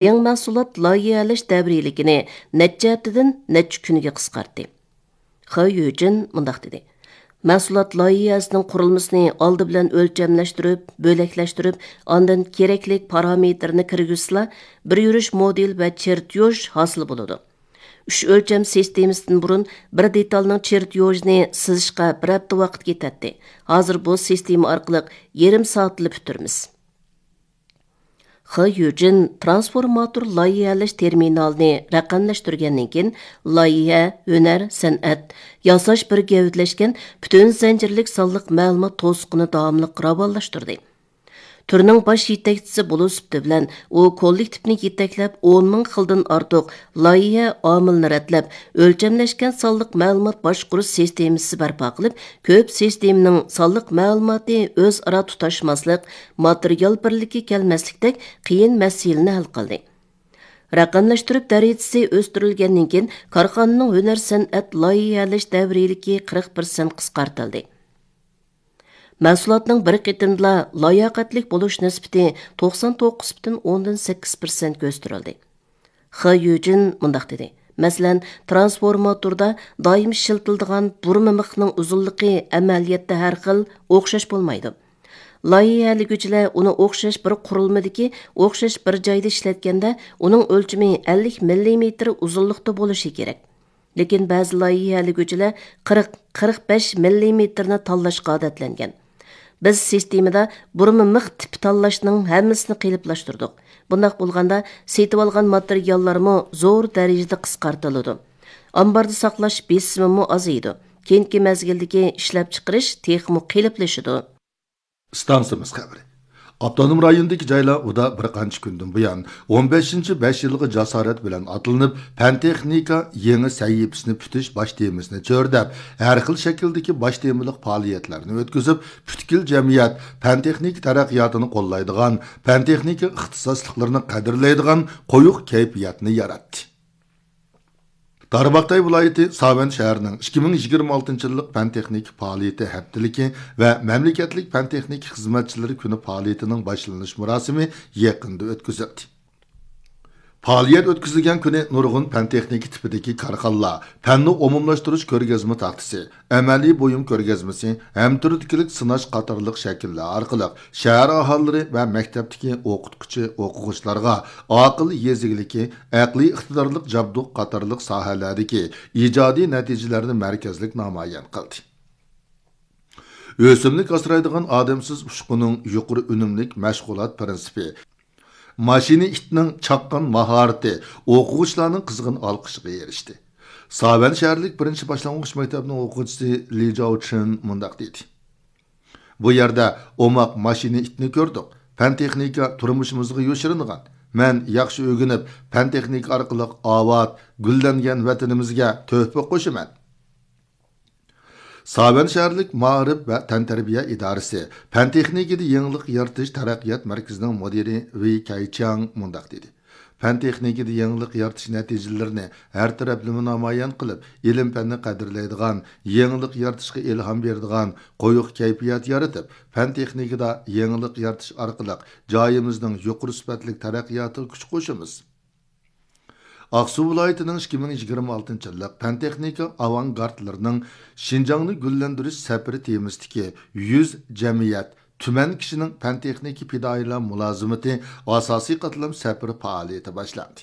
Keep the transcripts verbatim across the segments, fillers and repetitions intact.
يېڭى مەھسۇلات لايىھەلەش دەۋرىيلىكىنى نەچچە ھەپتىدىن نەچچە كۈنگە قىسقارتتى. خې يۈجىن مۇنداق دېدى: مەھسۇلات لايىھەسىنىڭ قۇرۇلمىسىنى ئالدى بىلەن ئۆلچەملەشتۈرۈپ، بۆلەكلەشتۈرۈپ، ئاندىن كېرەكلىك پارامېتىرنى كىرگۈزسىلا، بىر يۈرۈش مودېل ۋە چېرتيوژ ھاسىل بولىدۇ. ئۈچ ئۆلچەم سىستېمىسىدىن بۇرۇن بىر دېتالنىڭ چېرتيوژىنى سىزىشقا بىر ھەپتە ۋاقىت كېتەتتى. ھازىر بۇ سىستېما ئارقىلىق يېرىم سائەتتىلا پۈتتۈرىمىز. خې يۈجىن ترانسفورماتور لايىھەلەش تېرمىنالىنى رەقەملەشتۈرگەندىن كېيىن، لايىھە، ھۈنەر، سەنئەت، ياساش بىر گەۋدىلەشكەن پۈتۈن زەنجىرلىك سانلىق مەلۇمات توسۇقىنى داۋاملىق راۋانلاشتۇردى. تۈرنىڭ باش يېتەكچىسى بولۇش سۈپىتى بىلەن، ئۇ كوللېكتىپنى يېتەكلەپ، ئون مىڭ خىلدىن ئارتۇق لايىھە ئامىلىنى رەتلەپ، ئۆلچەملەشكەن سانلىق مەلۇمات باشقۇرۇش سىستېمىسى بەرپا قىلىپ، كۆپ سىستېمىنىڭ سانلىق مەلۇماتى ئۆزئارا تۇتاشماسلىق، ماتېرىيال بىرلىكى كەلمەسلىكتەك قىيىن مەسىلىنى ھەل قىلدى. رەقەملەشتۈرۈپ دەرىجىسى ئۆستۈرۈلگەندىن كېيىن، كارخانىنىڭ ھۈنەر سەنئەت لايىھەلەش دەۋرىيلىكى قىرىق پىرسەنت قىسقارتىلدى. مەھسۇلاتنىڭ بىر قېتىمدىلا لاياقەتلىك بولۇش نىسبىتى توقسان توققۇز پۈتۈن ئوندىن سەككىز پىرسەنتكە ئۆستۈرۈلدى. خې يۈجىن مۇنداق دېدى: مەسىلەن، ترانسفورماتوردا دائىم ئىشلىتىلىدىغان بۇرما مىخنىڭ ئۇزۇنلۇقى ئەمەلىيەتتە ھەر خىل، ئوخشاش بولمايدۇ. لايىھەلىگۈچىلەر ئۇنى ئوخشاش بىر قۇرۇلمىدىكى ئوخشاش بىر جايدا ئىشلەتكەندە، ئۇنىڭ ئۆلچىمى ئەللىك مىللىمېتىر ئۇزۇنلۇقتا بولۇشى كېرەك. لېكىن بەزى لايىھەلىگۈچىلەر قىرىق، قىرىق بەش مىللىمېتىرنى تاللاشقا ئادەتلەنگەن. بىز سىستېمىدا بۇرما مىخ تىپى تاللاشنىڭ ھەممىسىنى قېلىپلاشتۇردۇق. بۇنداق بولغاندا، سېتىۋالغان ماتېرىياللارمۇ زور دەرىجىدە قىسقارتىلىدۇ. ئامباردا ساقلاش بېسىمىمۇ ئازىيىدۇ. كېيىنكى مەزگىلدىكى ئىشلەپچىقىرىش تېخىمۇ قېلىپلىشىدۇ. ئىستانسىمىز خەۋىرى. ئاپتونوم رايوندىكى جايلار ئۇدا بىر قانچە كۈندىن بۇيان، ئون بەشىنچى بەش يىلغا جاسارەت بىلەن ئاتلىنىپ، پەن تېخنىكا يېڭى سەھىپىسىنى پۈتۈش باش تېمىسىنى چۆرىدەپ، ھەر خىل شەكىلدىكى باش تېمىلىق پائالىيەتلەرنى ئۆتكۈزۈپ، پۈتكۈل جەمئىيەت پەن تېخنىكا تەرەققىياتىنى قوللايدىغان، پەن تېخنىكا ئىختىساسلىقلىرىنى قەدىرلەيدىغان قويۇق كەيپىياتنى ياراتتى. تارباغاتاي ۋىلايىتى ساۋەن شەھىرىنىڭ ئىككى مىڭ يىگىرمە ئالتىنچى يىللىق پەن تېخنىكا پائالىيىتى ھەپتىلىكى ۋە مەملىكەتلىك پەن تېخنىكا خىزمەتچىلىرى كۈنى پائالىيىتىنىڭ باشلىنىش مۇراسىمى يېقىندا ئۆتكۈزۈلدى. پائالىيەت ئۆتكۈزۈلگەن كۈنى نۇرغۇن پەن تېخنىكا تىپىدىكى كارخانىلار، پەننى ئومۇملاشتۇرۇش كۆرگەزمە تاختىسى، ئەمەلىي بۇيۇم كۆرگەزمىسى، ھەم تۈردىكىلىك سىناش قاتارلىق شەكىللەر ئارقىلىق شەھەر ئاھالىلىرى ۋە مەكتەپتىكى ئوقۇتقۇچى، ئوقۇغۇچىلارغا ئاقىل يېزا ئىگىلىكى، ئەقلىي ئىقتىدارلىق جابدۇق قاتارلىق ساھەلەردىكى ئىجادىي نەتىجىلەرنى مەركەزلىك نامايان قىلدى. ئۆسۈملۈك ئاسرايدىغان ئادەمسىز ئۇچقۇننىڭ يۇقىرى ئۈنۈملۈك مەشغۇلات پىرىنسىپى، ماشىنا ئىتنىڭ چاققان ماھارىتى ئوقۇغۇچىلارنىڭ قىزغىن ئالقىشىغا ئېرىشتى. ساۋەن شەھەرلىك بىرىنچى باشلانغۇچ مەكتەپنىڭ ئوقۇغۇچىسى لى جاۋچىن مۇنداق دېدى: بۇ يەردە ئوماق ماشىنا ئىتنى كۆردۇق. پەن تېخنىكا تۇرمۇشىمىزغا يوشۇرۇنغان. مەن ياخشى ئۆگىنىپ، پەن تېخنىكا ئارقىلىق ئاۋات، گۈللەنگەن ۋەتىنىمىزگە تۆھپە قوشىمەن. ساۋەن شەھەرلىك مائارىپ ۋە تەنتەربىيە ئىدارىسى پەن تېخنىكىدا يېڭىلىق يارىتىش تەرەققىيات مەركىزىنىڭ مۇدىرى ۋېي كەيچياڭ مۇنداق دېدى: پەن تېخنىكىدا يېڭىلىق يارىتىش نەتىجىلىرىنى ھەر تەرەپلىمە نامايان قىلىپ، ئىلىم پەننى قەدىرلەيدىغان، يېڭىلىق يارىتىشقا ئىلھام بېرىدىغان قويۇق كەيپىيات يارىتىپ، پەن تېخنىكىدا يېڭىلىق يارىتىش ئارقىلىق جايىمىزنىڭ يۇقىرى سۈپەتلىك تەرەققىياتىغا كۈچ قوشىمىز. ئاقسۇ ۋىلايىتىنىڭ ئىككى مىڭ يىگىرمە ئالتىنچى يىللىق پەن تېخنىكا ئاۋانگارتلىرىنىڭ شىنجاڭنى گۈللەندۈرۈش سەپىرى تېمىسىدىكى يۈز جەمئىيەت، تۈمەن كىشىنىڭ پەن تېخنىكا پىدائىيلار مۇلازىمىتى ئاساسىي قاتلام سەپىرى پائالىيىتى باشلاندى.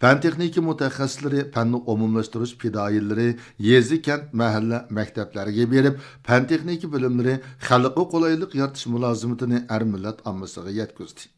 پەن تېخنىكا مۇتەخەسسىسلىرى، پەننى ئومۇملاشتۇرۇش پىدائىيلىرى يېزا، كەنت، مەھەللە، مەكتەپلەرگە بېرىپ، پەن تېخنىكا بىلىملىرى خەلققە قولايلىق يارىتىش مۇلازىمىتىنى ئەر مىللەت ئاممىسىغا يەتكۈزدى.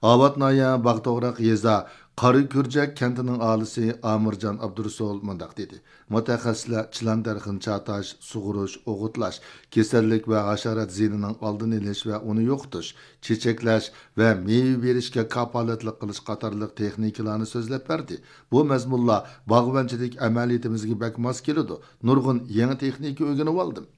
ئاۋات ناھىيە باغ توغراق يېزا قارا كۈرجەك كەنتىنىڭ ئاھالىسى ئامىرجان ئابدۇرۇسۇل مۇنداق دېدى: مۇتەخەسسىسلەر چىلان دەرىخىنى چاتاش، سۇغۇرۇش، ئوغۇتلاش، كېسەللىك ۋە ھاشارات زىيىنىنىڭ ئالدىنى ئېلىش ۋە ئۇنى يوقىتىش، چېچەكلەش ۋە مېۋە بېرىشكە كاپالەتلىك قىلىش قاتارلىق تېخنىكىلارنى سۆزلەپ بەردى. بۇ مەزمۇنلار باغۋەنچىلىك ئەمەلىيىتىمىزگە بەك ماس كېلىدۇ. نۇرغۇن يېڭى تېخنىكا ئۆگىنىۋالدىم.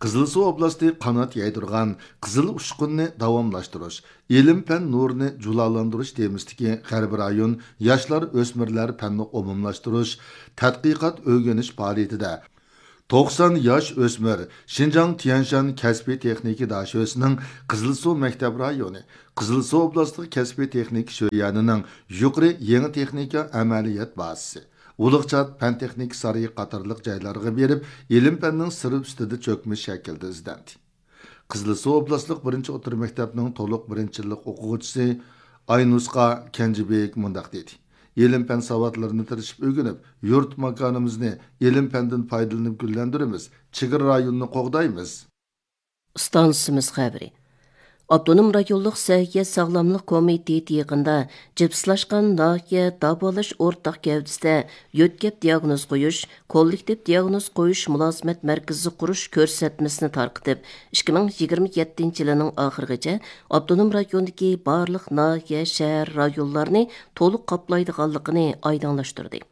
قىزىلسۇ ئوبلاستى قانات يايدۇرغان قىزىل ئۇچقۇننى داۋاملاشتۇرۇش، ئىلىم-پەن نۇرىنى جۇلالاندۇرۇش تېمىسىدىكى غەربىي رايون ياشلار، ئۆسمۈرلەر پەننى ئومۇملاشتۇرۇش تەتقىقات ئۆگىنىش پائالىيىتىدە توقسان ياش ئۆسمۈر شىنجاڭ تيەنشان كەسپىي تېخنىكا داشۆسىنىڭ قىزىلسۇ مەكتەپ رايونى، قىزىلسۇ ئوبلاستلىق كەسپىي تېخنىكا شۆيەنىنىڭ يۇقىرى يېڭى تېخنىكا ئەمەلىيەت بازىسى، ئۇلۇغچات پەن تېخنىكا سارىيى قاتارلىق جايلارغا بېرىپ، ئىلىم پەننىڭ سىرى ئۈستىدە چۆكمە شەكىلدە ئىزدەندى. قىزىلسۇ ئوبلاستلىق بىرىنچى ئوتتۇرا مەكتەپنىڭ تولۇق بىرىنچى يىللىق ئوقۇغۇچىسى ئاينۇسقا كەنجىبېك مۇنداق دېدى: ئىلىم پەن ساۋاتلىرىنى تىرىشىپ ئۆگىنىپ، يۇرت ماكانىمىزنى ئىلىم پەندىن پايدىلىنىپ گۈللەندۈرىمىز، چېگرا رايونىنى قوغدايمىز. ئىستانسىمىز خەۋىرى. ئاپتونوم رايونلۇق سەھىيە ساغلاملىق كومىتېتى يېقىندا جىپسلاشقان ناھىيە داۋالاش ئورتاق گەۋدىسىدە يۆتكەپ دىياگنوز قويۇش، كوللېكتىپ دىياگنوز قويۇش مۇلازىمەت مەركىزى قۇرۇش كۆرسەتمىسىنى تارقىتىپ، ئىككى مىڭ يىگىرمە يەتتىنچى يىلىنىڭ ئاخىرىغىچە ئاپتونوم رايوندىكى بارلىق ناھىيە، شەھەر، رايونلارنى تولۇق قاپلايدىغانلىقىنى ئايدىڭلاشتۇردى.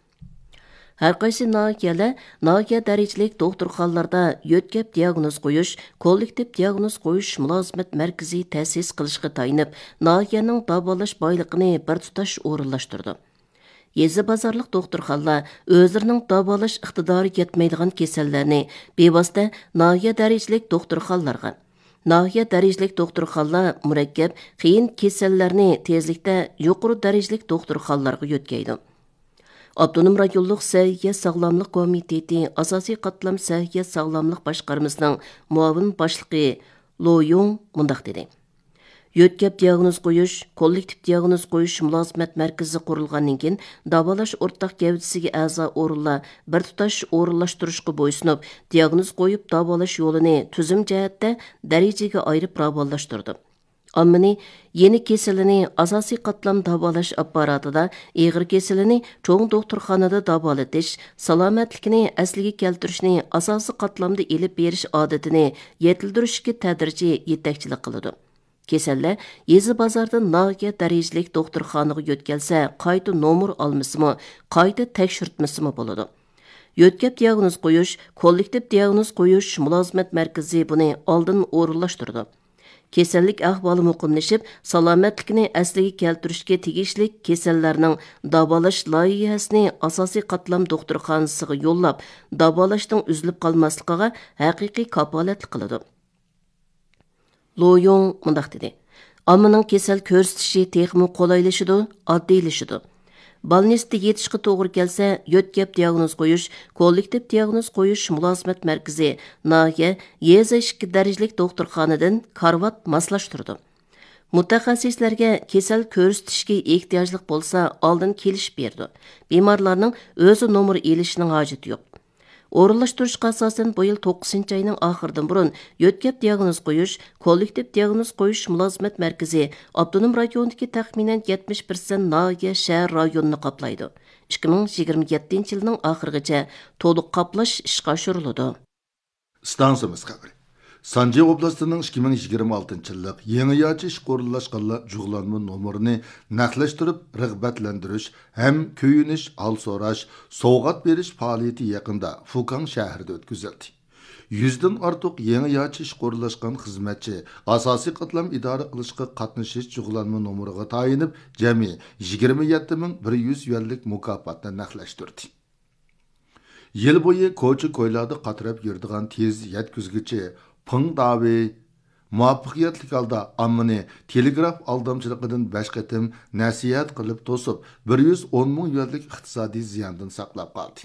ھەرقايسى ناھىيەلەر ناھىيە دەرىجىلىك دوختۇرخانىلاردا يۆتكەپ دىياگنوز قويۇش، كوللېكتىپ دىياگنوز قويۇش مۇلازىمەت مەركىزى تەسىس قىلىشقا تايىنىپ، ناھىيەنىڭ داۋالاش بايلىقىنى بىر تۇتاش ئورۇنلاشتۇرىدۇ. يېزا بازارلىق دوختۇرخانىلار ئۆزلىرىنىڭ داۋالاش ئىقتىدارى يەتمەيدىغان كېسەللەرنى بىۋاسىتە ناھىيە دەرىجىلىك دوختۇرخانىلارغا، ناھىيە دەرىجىلىك دوختۇرخانىلار مۇرەككەپ، قىيىن كېسەللەرنى تېزلىكتە يۇقىرى دەرىجىلىك دوختۇرخانىلارغا يۆتكەيدۇ. ئاپتونوم رايونلۇق سەھىيە ساغلاملىق كومىتېتى ئاساسىي قاتلام سەھىيە ساغلاملىق باشقارمىسىنىڭ مۇئاۋىن باشلىقى لو يۇڭ مۇنداق دېدى: يۆتكەپ دىياگنوز قويۇش، كوللېكتىپ دىياگنوز قويۇش مۇلازىمەت مەركىزى قۇرۇلغاندىن كېيىن، داۋالاش ئورتاق گەۋدىسىگە ئەزا ئورۇنلار بىر تۇتاش ئورۇنلاشتۇرۇشقا بويسۇنۇپ، دىياگنوز قويۇپ داۋالاش يولىنى تۈزۈم جەھەتتە دەرىجىگە ئايرىپ راۋانلاشتۇردى. ئاممىنى يېنىك كېسىلىنى ئاساسىي قاتلام داۋالاش ئاپپاراتىدا، ئېغىر كېسىلىنى چوڭ دوختۇرخانىدا داۋالىتىش، سالامەتلىكىنى ئەسلىگە كەلتۈرۈشنى ئاساسىي قاتلامدا ئېلىپ بېرىش ئادىتىنى يېتىلدۈرۈشكە تەدرىجىي يېتەكچىلىك قىلىدۇ. كېسەللەر يېزا بازاردىن ناھىيە دەرىجىلىك دوختۇرخانىغا يۆتكەلسە، قايتا نومۇر ئالمىسىمۇ، قايتا تەكشۈرتمىسىمۇ بولىدۇ. يۆتكەپ دىياگنوز قويۇش، كوللېكتىپ دىياگنوز قويۇش مۇلازىمەت مەركىزى بۇنى ئالدىن ئورۇنلاشتۇرىدۇ. كېسەللىك ئەھۋالى مۇقىملىشىپ، سالامەتلىكىنى ئەسلىگە كەلتۈرۈشكە تېگىشلىك كېسەللەرنىڭ داۋالاش لايىھەسىنى ئاساسىي قاتلام دوختۇرخانىسىغا يوللاپ، داۋالاشنىڭ ئۈزۈلۈپ قالماسلىقىغا ھەقىقىي كاپالەتلىك قىلىدۇ. لو يۇڭ مۇنداق دېدى: ئاممىنىڭ كېسەل كۆرسىتىشى تېخىمۇ قولايلىشىدۇ، ئاددىيلىشىدۇ. بالنىستتا يېتىشقا توغرا كەلسە، يۆتكەپ دىياگنوز قويۇش، كوللېكتىپ دىياگنوز قويۇش مۇلازىمەت مەركىزى ناھىيە، يېزا ئىككى دەرىجىلىك دوختۇرخانىدىن كارىۋات ماسلاشتۇرىدۇ. مۇتەخەسسىسلەرگە كېسەل كۆرسىتىشكە ئېھتىياجلىق بولسا، ئالدىن كېلىشىپ بېرىدۇ. بىمارلارنىڭ ئۆزى نومۇر ئېلىشىنىڭ ھاجىتى يوق. ئورۇنلاشتۇرۇشقا ئاساسەن، بۇ يىل توققۇزىنچى ئاينىڭ ئاخىرىدىن بۇرۇن يۆتكەپ دىياگنوز قويۇش، كوللېكتىپ دىياگنوز قويۇش مۇلازىمەت مەركىزى ئاپتونوم رايوندىكى تەخمىنەن يەتمىش پىرسەنت ناھىيە، شەھەر رايونىنى قاپلايدۇ. ئىككى مىڭ يىگىرمە يەتتىنچى يىلنىڭ ئاخىرىغىچە تولۇق قاپلاش ئىشقا ئاشۇرۇلىدۇ. ئىستانسىمىز خەۋىرى. سانجى ئوبلاستىنىڭ ئىككى مىڭ يىگىرمە ئالتىنچى يىللىق يېڭى ياچى ئىشقا ئورۇنلاشقانلار جۇغلانما نومۇرىنى نەقلەشتۈرۈپ رىغبەتلەندۈرۈش ھەم كۆيۈنۈش، ھال سوراش، سوۋغات بېرىش پائالىيىتى يېقىندا فۇكاڭ شەھىرىدە ئۆتكۈزۈلدى. يۈزدىن ئارتۇق يېڭى ياچى ئىشقا ئورۇنلاشقان خىزمەتچى ئاساسىي قاتلام ئىدارە قىلىشقا قاتنىشىش جۇغلانما نومۇرىغا تايىنىپ، جەمئىي يىگىرمە يەتتە مىڭ بىر يۈز يۈەنلىك مۇكاپاتنى نەقلەشتۈردى. يىل بويى كوچا-كويلاردا قاتراپ يۈرىدىغان تېز يەتكۈزگۈچى پېڭ داۋېي مۇۋەپپەقىيەتلىك ھالدا ئاممىنى تېلېگراف ئالدامچىلىقىدىن بەش قېتىم نەسىھەت قىلىپ توسۇپ، بىر يۈز ئون مىڭ يۈەنلىك ئىقتىسادىي زىياندىن ساقلاپ قالدى.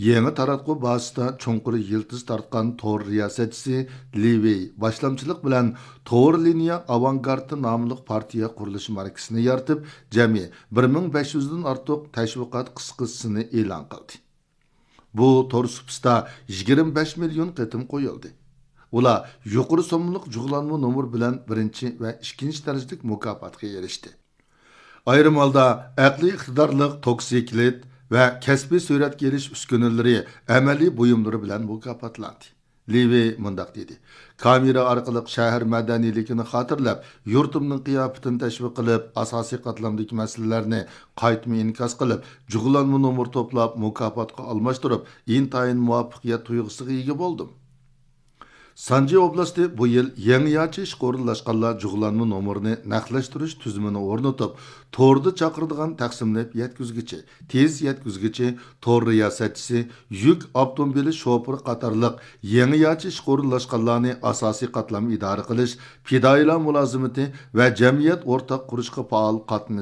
يېڭى تاراتقۇ بازىسىدا چوڭقۇر يىلتىز تارتقان تور رىياسەتچىسى لى ۋېي باشلامچىلىق بىلەن تور لىنىيە ئاۋانگارتى ناملىق پارتىيە قۇرۇلۇش مەركىزىنى يارىتىپ، جەمئىي بىر مىڭ بەش يۈزدىن ئارتۇق تەشۋىقات قىسقىسىنى ئېلان قىلدى. بۇ تور سۇپىسىدا يىگىرمە بەش مىليون قېتىم قويۇلدى. ئۇلار يۇقىرى سوممىلىق جۇغلانما نومۇر بىلەن بىرىنچى ۋە ئىككىنچى دەرىجىلىك مۇكاپاتقا ئېرىشتى. ئايرىم ھالدا ئەقلىي ئىقتىدارلىق توكسىكلىت ۋە كەسپىي سۈرەتكە ئېلىش ئۈسكۈنىلىرى، ئەمەلىي بۇيۇملىرى بىلەن مۇكاپاتلاندى. لى ۋېي مۇنداق دېدى: كامېرا ئارقىلىق شەھەر مەدەنىيلىكىنى خاتىرىلەپ، يۇرتۇمنىڭ قىياپىتىنى تەشۋىق قىلىپ، ئاساسىي قاتلامدىكى مەسىلىلەرنى قايتما ئىنكاس قىلىپ، جۇغلانما نومۇر توپلاپ، مۇكاپاتقا ئالماشتۇرۇپ، ئىنتايىن مۇۋەپپەقىيەت تۇيغۇسىغا ئىگە بولدۇم. سانجى ئوبلاستى بۇ يىل يېڭىچە ئىشقا ئورۇنلاشقانلار جۇغلانما نومۇرىنى نەقلەشتۈرۈش تۈزۈمىنى ئورنىتىپ، توردا چاقىرىدىغان تەقسىملەپ يەتكۈزگۈچى، تېز يەتكۈزگۈچى، تور رىياسەتچىسى، يۈك ئاپتوموبىلى شوپۇرى قاتارلىق يېڭىچە ئىشقا ئورۇنلاشقانلارنى ئاساسىي قاتلام ئىدارە قىلىش، پىدائىيلار مۇلازىمىتى ۋە جەمئىيەت ئورتاق قۇرۇشقا پائال قاتنىشىش